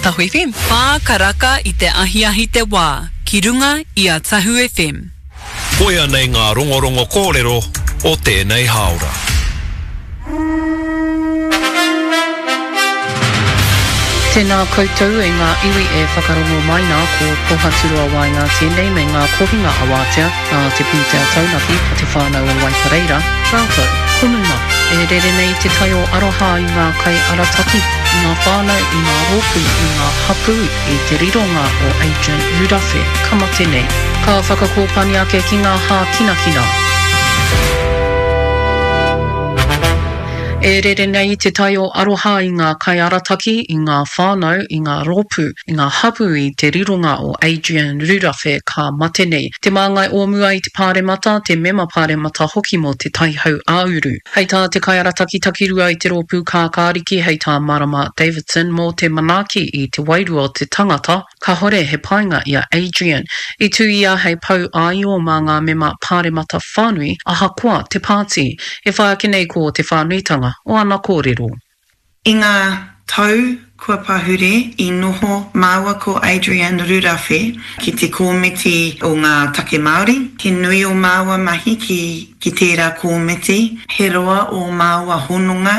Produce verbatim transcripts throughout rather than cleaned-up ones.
Tahu F M. Whā karaka i te ahiahi te wā, ki runga i a Tahu F M. Koia nei ngā rongorongo kōrero o tēnei hāora. Tēnā koutou e ngā iwi e whakarongo mai nā, ko Pohaturoa Waenga tēnei me ngā kohinga awātea nā te pūtea taunaki a Te Whānau o Waipareira rātou ko Numa. E rere nei te tai o aroha i ngā kaiarataki, i ngā whānau, i ngā rōpū, i ngā hapū i te rironga o Adrian Rurawhe ka mate nei. Ka whakakōpani ake ki ngā hākinakina. E rere nei te tai o aroha i ngā kaiarataki, i ngā whānau, i ngā rōpū, i ngā hapū i te rironga o Adrian Rurawhe ka mate nei. Te māngai o mua i te Pāremata, te mema Pāremata hoki mō Te Tai Hau-ā-uru. Hei tā te kaiarataki takirua i te rōpū Kākāriki, hei tā Marama Davidson mō te manaaki i te wairua o te tangata, Kahore he painga i a Adrian. I tū ia hei pou āio mā ngā mema Pāremata whānui ahakoa te pāti. E whai ake nei ko te whānuitanga o ana kōrero. I ngā tau kua pahure i noho māua ko Adrian Rurawhe ki te Kōmiti o ngā Take Māori. He nui ō māua mahi ki ki tērā kōmiti. He roa ō māua hononga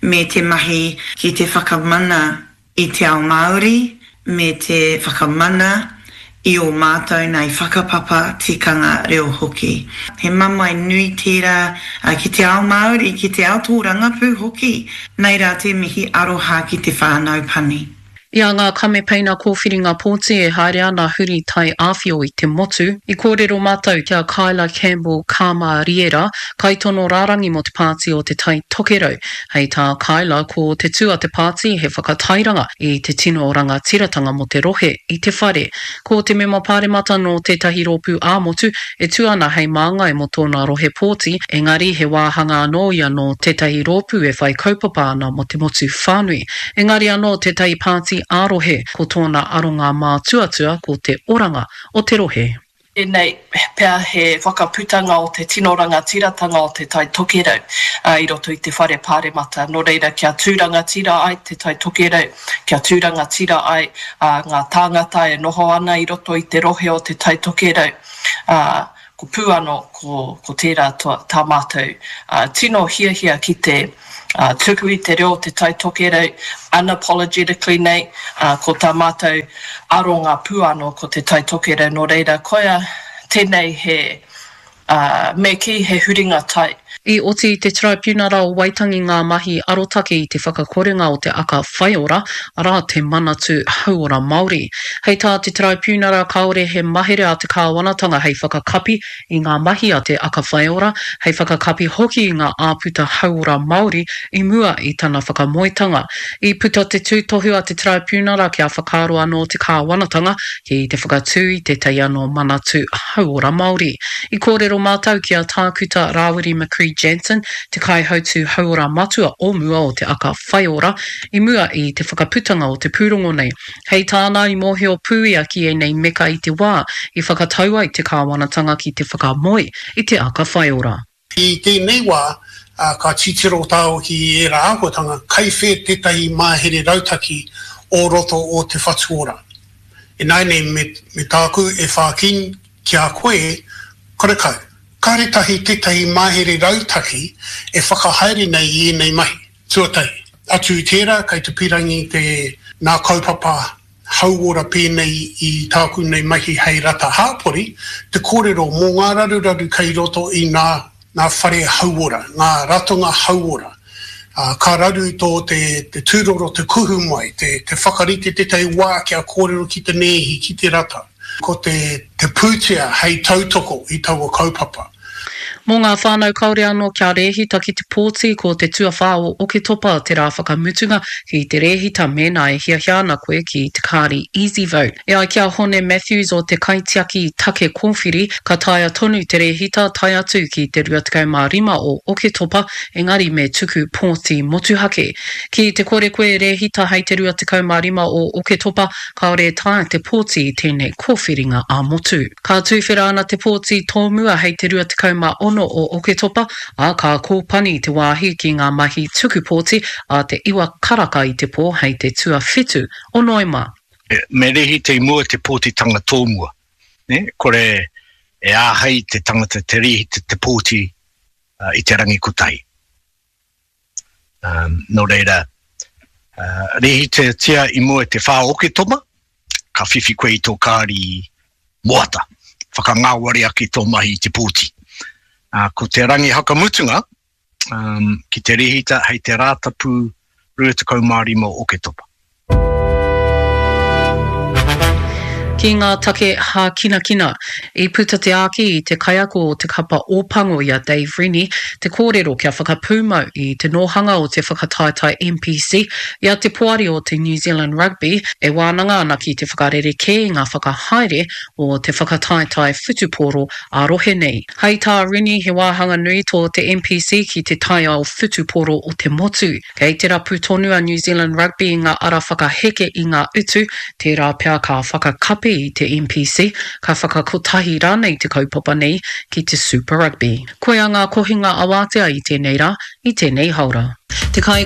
me te mahi ki te whakamana i te ao Māori me te whakamana i ō mātou nei whakapapa, tikanga, reo hoki. He mamae nui tērā ki te ao Māori, ki te ao tōrangapū hoki. Nei rā te mihi aroha ki te whānau pani. I a ngā kamepeina kōwhiringa pōti e haere ana huri tai āwhio i te motu, i kōrero mātou ki a Kyla Campbell Kāmariera, kaitono rārangi mō te Pāti o Te Tai Tokerau. Hei tā Kyla, ko te tū a te pāti he whakatairanga i te tino rangatiratanga mō te rohe i te whare. Ko te mema pāremata nō tētahi rōpū ā-motu e tū ana hei māngai mō tōna rohe pōti, engari he wāhanga anō ia nō tētahi rōpū e whai kaupapa ana mō te motu whānui. Engari anō tētahi pāti ā-rohe, ko tōna aronga mātuatua ko te oranga o te rohe. Tēnei pea he whakaputanga o te tino rangatiratanga o Te Tai Tokerau i roto i te Whare Pāremata. Nō reira, kia tū rangatira ai Te Tai Tokerau, kia tū rangatira ai ngā tāngata e noho ana i roto i te rohe o Te Tai Tokerau, ko pū anō ko tērā tā mātou tino hiahia ki te tuku i te reo o Te Tai Tokerau unapologetically nei, ko tā mātou aronga pū anō ko Te Tai Tokerau, nō reira, koia tēnei he, me kī he huringa tai. I oti i te Taraipiunara o Waitangi ngā mahi arotake i te whakakorenga o te Aka Whaiora, arā, te Manatū Hauora Māori. Hei tā te Taraipiunara kāore he mahere a te kāwanatanga hei whakakapi i ngā mahi a te Aka Whaiora, hei whakakapi hoki i ngā āputa hauora Māori i mua i tana whakamoetanga. I puta te tūtohu a te Taraipiunara kia whakaaro anō te kāwanatanga ki te whakatū i tētahi anō Manatū Hauora Māori. I kōrero mātou ki a Tākuta Rāwiri McCree Jansen, te kaihautū hauora matua o mua o te Aka Whaiora, i mua i te whakaputanga o te pūrongo nei. Hei tāna, i mōhio pū ia ki ēnei meka i te wā i whakatau ai te kāwanatanga ki te whakamoe i te Aka Whaiora. I tēnei wā, ka titiro tāua ki ērā āhuatanga, kai whē tētahi mahere rautaki o roto o Te Whatu Ora. Ināianei me, me tāku e whāki ki a koe, karekau. Kāre tahi tētahi mahere rautaki e whakahaere nei i ēnei mahi. Tuatahi, atu i tērā, kei te pīrangi te nā kaupapa hauora pēnei i tāku nei mahi hei rata hāpori, te kōrero mō ngā raruraru kei roto i nā ngā whare hauora, ngā ratonga hauora. Ā, ka raru tō te, te tūroro te kuhu mai, te, te whakarite tētahi wā kia kōrero ki te nēhi, ki te rata. Ko te, te pūtea hei tautoko i taua kaupapa. Mō ngā whānau kāore anō kia rēhita ki te pōti, ko te tuawhā o Oketopa te rā whakamutunga ki te rēhita mēnā e hiahia ana koe ki te kāri EasyVote. E ai ki a Hone Matthews o te Kaitiaki Take Kōwhiri, ka taea tonu te rēhita tae atu ki te rua tekau mā rima o Oketopa, engari me tuku pōti motuhake. Ki te kore koe e rēhita hei te rua tekau mā rima o Oketopa, kāore e taea te pōti i tēnei kōwhiringa ā-motu. Ka tuwhera ana te pōti tōmua hei te rua tekau mā ono ono o Oketopa, ā, ka kōpani te wāhi ki ngā mahi tuku pōti ā te iwa karaka i te pō hei te tuawhitu o Noema. Me rēhita i mua te pōtitanga tōmua, nē, kore e āhei te tangata te rēhita te pōti i te rangi kotahi. Um, nō reira, uh, rēhitatia i mua te whā Oketopa, ka whiwhi koe i tō kāri moata, whakangāwari ake tō mahi i te pōti. Uh, ko te rangi hakamutunga, um, ki te rēhita hei te Rātapu rua tekau mā rima o Oketopa. Ki ngā take hākinakina, i puta te āki i te kaiako o te kapa Ōpango i a Dave Rennie te kōrero kia whakapūmau i te nōhanga o te whakataetae N P C i a te poari o te New Zealand Rugby e wānanga ana ki te whakarerekē i ngā whakahaere o te whakataetae whutupōro ā-rohe nei. Hei tā Rennie he wāhanga nui tō te N P C ki te taiao whutupōro o te motu. Kei te rapu tonu a New Zealand Rugby i ngā ara whakaheke i ngā utu, tērā pea ka whakakapi i te N P C, ka whakakotahi rānei te kaupapa nei ki te Super Rugby. Koia ngā kohinga awātea i tēnei rā, i tēnei haora. Te kai